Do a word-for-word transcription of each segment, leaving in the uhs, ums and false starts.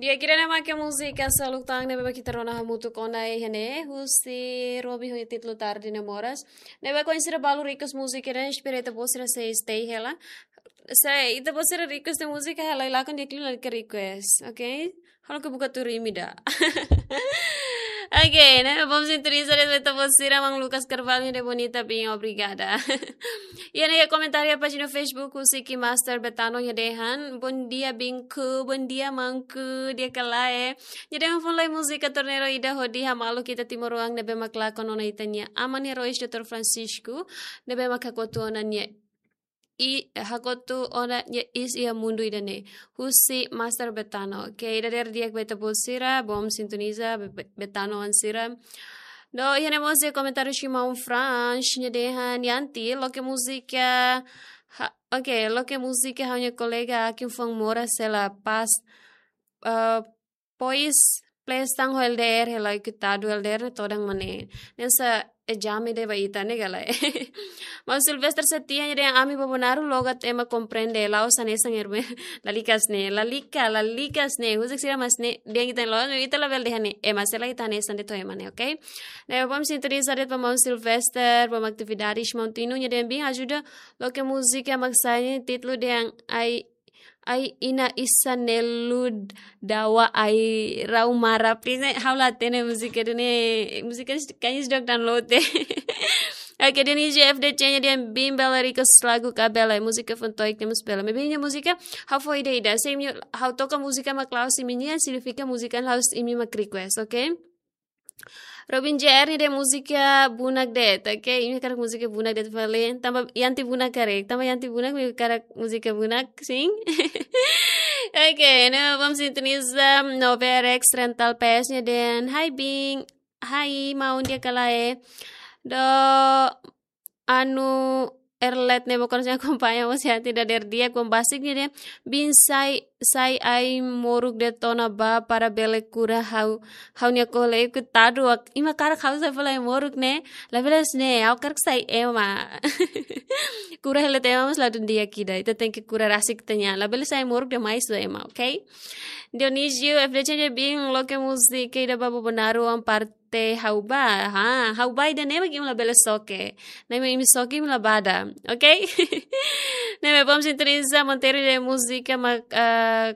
Di'ak, ida-ne'e mak múzika Seluk Tan ne'ebé mak ita rona hamutuk ona iha ne'e, husi Robi ho títulu Tarde Namoras. Ne'ebé oinsá balu request múzika ne'e, espera ita-boot sira sei stay hela. Se ita-boot sira request múzika hela, lakon di'ak liu lalika request, oke? Halo ke buka tuur imi ida. Oke, ne'e bom sintonia de'it ba ita-boot sira. Maun Lucas Carvalho dehan bonita, bem, obrigada. Iha ne'e komentáriu pájina Facebook husi Ki Master Betano nia dehan: "Bom dia, binku, bom dia, maunku, di'ak ka lae?" Nia dehan: "Fó lai múzika torneiro ida hodi hamaluk ita timoroan ne'ebé mak lakon ona ita-nia aman heróis doutór Francisco, ne'ebé mak hakotu ona nia i-, hakotu ona nia iis iha mundu ida-ne'e." Husi Master Betano. Oke, ida dadeer di'ak ba ita-boot sira, bom sintonia, Be-, Be-, Betanoan sira. No, iha ne'e mós iha komentáriu husi maun Franz, nia dehan: "Yanti, loke múzika, ha-, oke, loke múzika ha'u-nia kolega Akin Fong Mora sela pas, eh, pois, please tan ho L D R hela, oinsá L D R ne'e todan mak ne'e. Ne'e hanesan ezame ida ba ita ne'e ka lae." Maun Sylvester Setia nia dehan: "Ami Bobonaro logat ema komprende, la'ós hanesan erme." Lalika hanesan ne'e, lalika, lalika hanesan ne'e. Husik sira mak hanesan ne'e, dehan ita loos, ita labele dehan ne'e, ema sela ita hanesan de'it ho ema ne'e, oke? Ne'e bom sintonia de'it ba maun Sylvester, bom atividades. Maun Tino nia dehan: "Bim, ajuda loke múzika mak sai ne'e, títulu dehan ai, ai ina isa nelu dawa ai rau mara." Please, ne'e ha'u la hatene múzika ida-ne'e, múzika kanis dok dan lote. Oke, Dionisio F D C nia dehan: "Bim, bele request lagu ka bele, múzika fontoik ne'e mós bele." Maibé nia múzika ha'u fó ida-ida. Se imi, ha'u toka múzika mak la'ós imi-nian, signifika múzika la'ós imi mak request, oke? Robin J R nia dehan múzika bunak de'it, oke? Imi hakarak múzika bunak de'it fali. Tanba Yanti bunak karik, tanba Yanti bunak, imi hakarak múzika bunak, sin? Oke, ne'e bom sintonia. No, B R X Rental P S nia dehan: "Hai, bim. Hai, maun, di'ak ka lae?" No, Anu Erlet ne'ebé mak oras ne'e akompaña mós Yanti dadeer di'ak. Bom, Basik nia dehan: "Bim, sai, sai ai-moruk de'it ona bá para bele kura ha'u, ha'u-nia kole." Koitadu, ak-, imi hakarak ha'u sai fó lai ai-moruk ne'e? Labele hanesan ne'e, ha'u hakarak sai ema. Kura hela tiha ema mós ladún di'ak ida. Ita tenke kura rasik ita-nia. Labele sai ai-moruk demais ba ema, oke? Dionisio F D C nia dehan: "Bim, loke múzika ida ba Bobonaro, am parte ha'u bá." Ha, ha'u bá ida-ne'e mak imi labele soke. Ne'e mak imi soke, imi la bá ida. Oke? Ne'e mak bom sintonia. Monteiro nia dehan múzika mak, ah,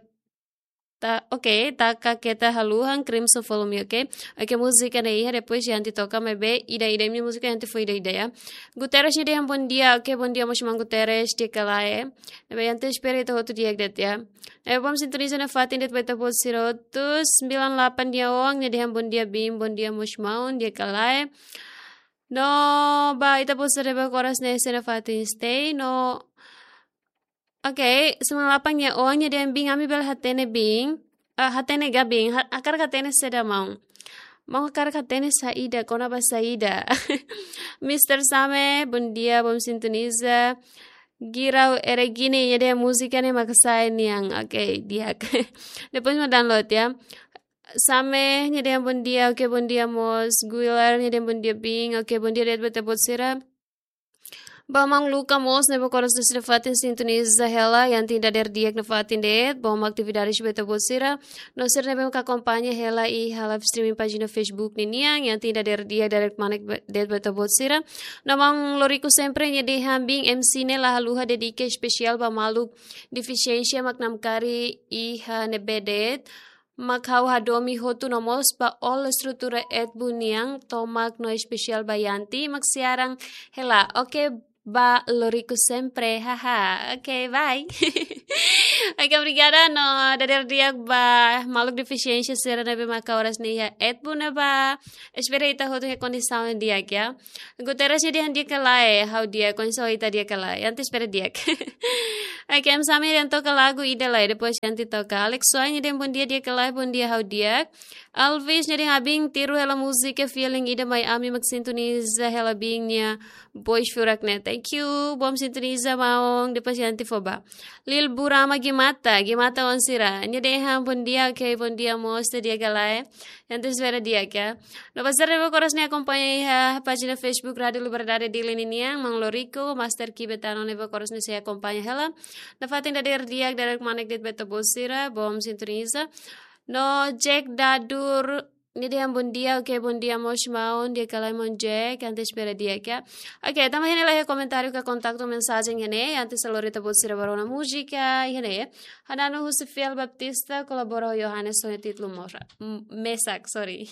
ta, oke, Taka Keta Haluhan, Crimson Follow Me, oke? Oke, múzika ne'e iha, depois Yanti toka, maibé ida-ida imi-nia múzika Yanti fó ida-ida, ya. Guterres nia dehan bom dia, oke, bom dia mós maun Guterres, di'ak ka lae? Ne'ebé Yanti espera ita hotu di'ak de'it, ya. Ne'e bom sintonia nafatin de'it ba ita-boot sira hotu. Sembilan delapan nia oan nia dehan: "Bom dia, bim, bom dia mós maun, di'ak ka lae?" No, ba ita-boot sira ne'ebé mak oras ne'e sei nafatin stay, no. Oke, sembilan delapan nia oan nia dehan: "Bim, ami bele hatene, bim. Ah, hatene ga, bim? Ha-, hakarak hatene saida, maun? Maun hakarak hatene saida, kona-ba saida?" Mister Same, bom dia, bom sintonia. Girau Eregini nia dehan múzika ne'e mak sai nian. Oke, di'ak. Depois mak download, ya. Same nia dehan bom dia, oke, bom dia mós. Guilar nia dehan bom dia, bim, oke, bom dia de'it ba ita-boot sira. Ba maun Luca mós ne'ebé mak oras ne'e sei nafatin sintoniza hela, Yanti dadeer di'ak nafatin de'it, bom atividades ba ita-boot sira. No sira ne'ebé mak akompaña hela iha live streaming pájina Facebook ninian, Yanti dadeer di'ak, dadeer kmanek ba-, de'it ba ita-boot sira. No maun Lorico Sempre nia dehan: "Bim, M C ne'e la haluha dedika espesiál ba maluk defisiénsia mak namkari iha ne'ebé de'it, mak ha'u hadomi hotu, no mós ba all estrutura Etbu nian, tomak no espesiál ba Yanti mak siaran hela." Oke, ba Lorico Sempre, haha. Oke, bye. Oke, obrigada, no dadeer di'ak ba maluk defisiénsia sira ne'ebé mak oras ne'e iha Etbu ne'ebá. Espera ita hotu iha kondisaun di'ak, ya. Guterres nia dehan: "Di'ak ka lae?" Ha'u di'ak, kondisaun ita di'ak ka lae? Yanti espera di'ak. Oke, M Sami nia dehan: "Toka lagu ida lai, depois Yanti toka." Alex Suai nia dehan: "Bom dia, di'ak ka lae?" Bom dia, ha'u di'ak. Alvis nia dehan: "Abin, tiru hela múzika feeling ida mai ami mak sintoniza hela bim nia voz furak ne'e." Thank you, bom sintoniza maun, depois Yanti fó ba. Lil Burama Gimata, Gimata oan sira. Nia dehan: "Bom dia, oke, bom dia mós, di'ak ka lae?" Yanti espera di'ak, ya. No ba sira ne'ebé mak oras ne'e akompaña iha pájina Facebook Rádio Liberdade Dili ninian, maun Lorico, Master Ki Betano ne'ebé mak oras ne'e sei akompaña hela. Nafatin dadeer di'ak, dadeer kmanek de'it ba ita-boot sira, bom sintoniza. No Jack Dadur, nia dehan bom dia, oke, bom dia mós maun, di'ak ka lae maun Jack, ita espera di'ak ka. Oke, tanba ne'e la iha komentáriu ka kontaktu mensajen ne'e, ita sei lori ita-boot sira ba rona múzika, ne'e. Hananu husi Fiel Baptista, kolabora ho Johannes ho títulu Mora. M-, Mesak, sorry.